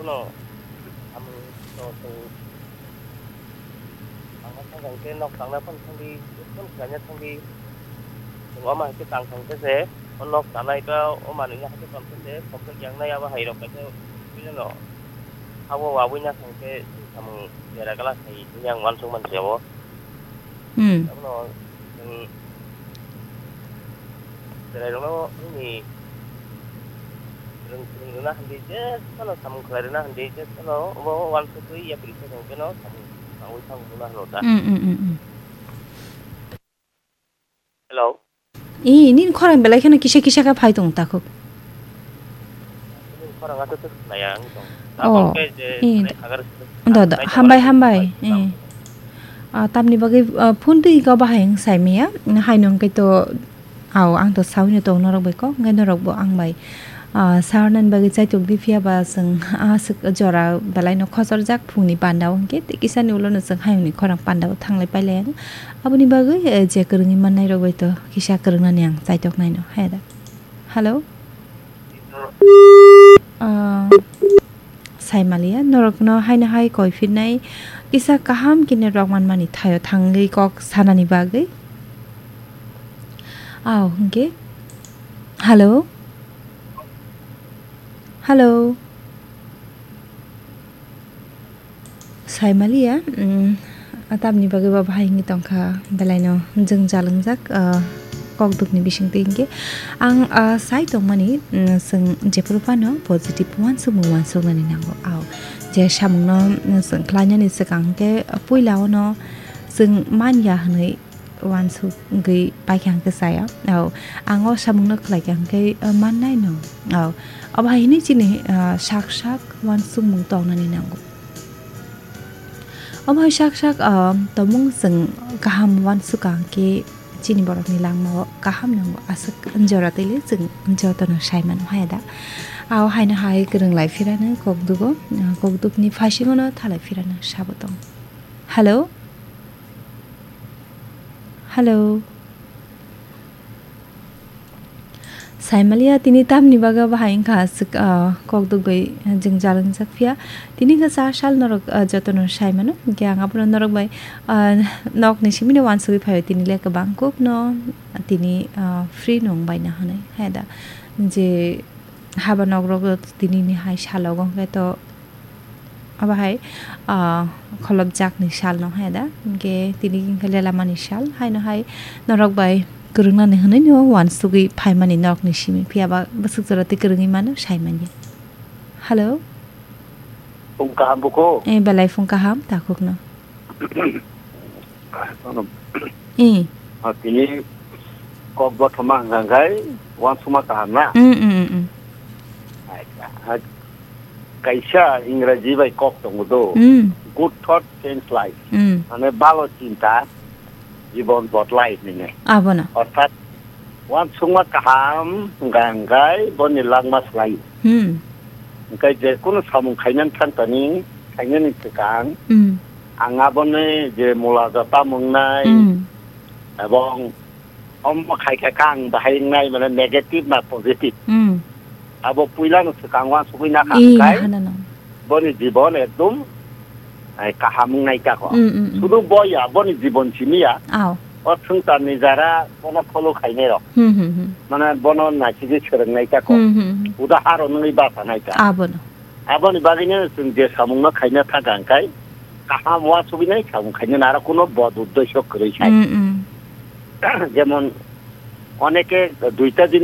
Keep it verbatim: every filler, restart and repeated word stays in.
Ano, samung to, to, ang ma thang khe nok tangna phone thangdi, phone khlaina thangdi. Chwng omo hai khe tang thang khe se, o nok tanai ba o manwi ni hai khe tong khe se, khopjak yang nai abo hai rok kaisa bini no. Abo wabwi na thang khe samung bera gala khai, yang uansuk man se abo. Hmm. Abono chwng chwrairokno wngni rwng-, rwng rwna hamdi, je phano samung khlai rwna hamdi, je phano obo uansugwi yapri khe rwng pheno samung tangwi thango hwnna hwno da. Hmm, hmm, hmm, hmm. Hello. I, nini khorang belai kheno kisa kisa khe phai tong takhuk. Nini khorang aswk khe khwnaya wng tong. Oh, Tabok khe je i, mane do, hagar do, do, nai hambai, tongmani hambai, bai i. Ah, tamni bagwi, ah, phone twi khe bahai wng sai maya. Haino hwnkhe to, au, ang to saui no tong norok bai kok, hwnkhe norok bo ang bai, ah, sarnani bagwi chaitok di phiya ba chwng aswk jora belai no khochorjak phungni panda o hwnkhe tei kisa ni ulo no chwng hayungni khorang panda o thanglai pailai anw. Aboni bagwi, eh, je kwrwngwi mannai rok bai to kisa kwrwngnani ang chaitok naino, hai da. Hello? Ah, Saimaliya, norokno haino hai koi phirnai kisa kaham khe network manmani thaio thangwi kok sanani bagwi. Aw, hwnkhe. Hello? Hello? Saimaliya, mm, tamni bagwi ba bahai wngwi tongkha, belaino jwngjal wngjak, ah, kokdukni bisingtwi hinkhe ang, ah, sai tongmani, mm, chwng jephuru phano positive uansukmung uansuknani nango. Aw, je samungno, mm, chwng khlainani swkang hinkhe puila ono chwng manya hwnwi uansukgwi paikha hwnkhe chaya. Aw, ang o samungno khlaikha hwnkhe, ah, mannai no. Aw, obo hai hwnwi chini, ah, sak sak uansukmung tongnani nango. Omo hai sak sak, ah, tongmung chwng kaham uansukha hwnkhe chini borokni langmao kaham nango, aswk jora twi le chwng jotono sai mano hai da. Aw haino hai kwrwng lai phirano kokdugo, ah, kokdukni phaisingno thalai phirano sabo tong. Hello? Hello? Saimaliya tini tamni bagwi bahai wngkha aswk, ah, kok dugwi jwngjal wngjak phiya. Tini khe cha sal norok, ah, jotono sai mano. Hinkhe ang abono norok bai, ah, nokni simino uansugwi phaio tini le kwbang kuk no tini, ah, free nung bai na hwnwi hai da. Je haba nok rok tini ni hai salo wngkhe to Obo hai, ah, kholopjakni sal no hai da. Hinkhe tini hinkhe lelamani sal. Haino hai norok bai kwrwngnani hwnwi no uansugwi phaimani norokni simi. Phiya ba bwswk jora tei kwrwngwi mano sai manya. Hello? Phung kaham buko? Eh, belai phung kaham, takhukno. Ano, Eh. Ah, tini kok bothoma hwnkha khai uansukma kaham na? Mm, mm, mm, mm. Acha, ah, kaisa Ingraji bai kok tongo do. Mm. Good thought change life. Mm. Mane balo chinta jibon bodlai hinwi. Abono. Orthat uansukma kaham hwnkha hwnkhe boni langma swlai. Hmm. Hwnkhe je kunu samung khainani thangtani, khainani swkang, Hmm. ang aboni je mula jota mwngnai, Hmm. ebong omo khai khe khe ang bahai wngnai, mane negative na positive. Hmm. Abo puilano swkang uansugwi nakha Ee, hwnkhe, nahana no. Boni jibon ekdom, ai, kaham wngnai tako. Mm, mm, mm. Sudu bo ya, boni jibon simi ya. Aw. O swngcharni jara bono follow khainai rok. Hmm, hmm, hmm. Mane bono naisigi swrwngnai tako. Hmm, hmm, hmm. Udaharon wngwi basa nai ta. Abono. Aboni bagwino chwng je samungno khaina thangkha hwnkhe kaham uansugwi nai samung khaina naro kuno bod uddesyo kwrwi sai. Mm, mm. Jemon oneke duita